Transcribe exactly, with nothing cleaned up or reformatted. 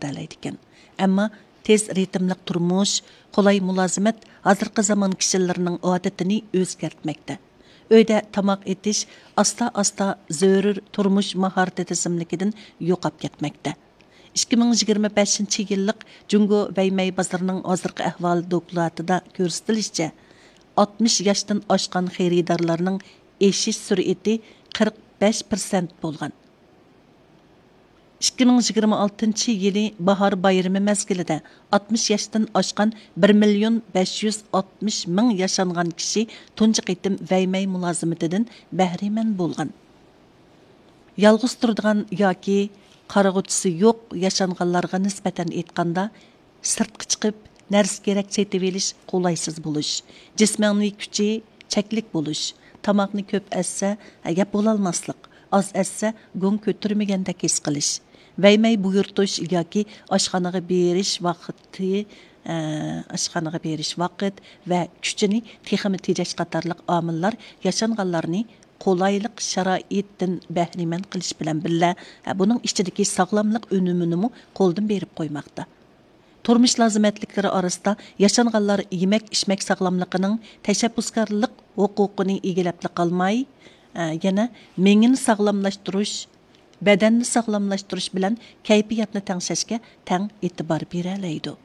بېرەلەيدىكەن. ئەمما تېز رىتىملىق تۇرمۇش، قولاي مۇلازىمەت ھازىرقى زامان كىشىلىرىنىڭ ئادىتىنى ئۆزگەرتمەكتە. ئۆيدە تاماق ئېتىش ئاستا-ئاستا زۆرۈر تۇرمۇش ماھارىتى تىزىملىكىدىن يوقاپ كەتمەكتە. ئىككى مىڭ يىگىرمە بەشىنچى يىللىق جۇڭگو ۋەيمەي بازىرىنىڭ ھازىرقى ئەھۋالى دوكلاتىدا كۆرسىتىلىشىچە، ئاتمىش ياشتىن ئاشقان خېرىدارلارنىڭ ئېشىش سۈرئىتى قىرىق بەش پىرسەنت بولغان. ئىككى مىڭ يىگىرمە ئالتىنچى يىلى باھار بايرىمى مەزگىلىدە ئاتمىش ياشتىن ئاشقان بىر مىليون بەش يۈز ئاتمىش مىڭ ياشانغان كىشى تۇنجى قېتىم ۋەيمەي مۇلازىمىتىدىن بەھرىمەن بولغان. يالغۇز تۇرىدىغان ياكى قارىغۇچىسى يوق ياشانغانلارغا نىسبەتەن ئېيتقاندا، سىرتقا چىقىپ نەرسە كېرەك سېتىۋېلىش قولايسىز بولۇش، جىسمانىي كۈچى چەكلىك بولۇش، تاماقنى كۆپ ئەتسە يەپ بولالماسلىق، ئاز ئەتسە گۇڭ كۆتۈرمىگەندەك ھېس قىلىش، ۋەيمەي بۇيرۇتۇش ياكى ئاشخانىغا بېرىش ۋاقتى، ئە، ئاشخانىغا بېرىش ۋاقىت ۋە كۈچىنى تېخىمۇ تېجەش قاتارلىق ئامىللار ياشانغانلارنى قولايلىق شارائىتتىن بەھرىمەن قىلىش بىلەن بىللە، بۇنىڭ ئىچىدىكى ساغلاملىق ئۈنۈمىنىمۇ قولدىن بېرىپ قويماقتا. تۇرمۇش لازىمەتلىكلىرى ئارىسىدا ياشانغانلار يېمەك ئىچمەك ساغلاملىقىنىڭ تەشەببۇسكارلىق ھوقۇقىنى ئىگىلەپلا قالماي، ئە، يەنە مېڭىنى ساغلاملاشتۇرۇش، بەدەننى ساغلاملاشتۇرۇش بىلەن كەيپىياتنى تەڭشەشكە تەڭ ئېتىبار بېرەلەيدۇ.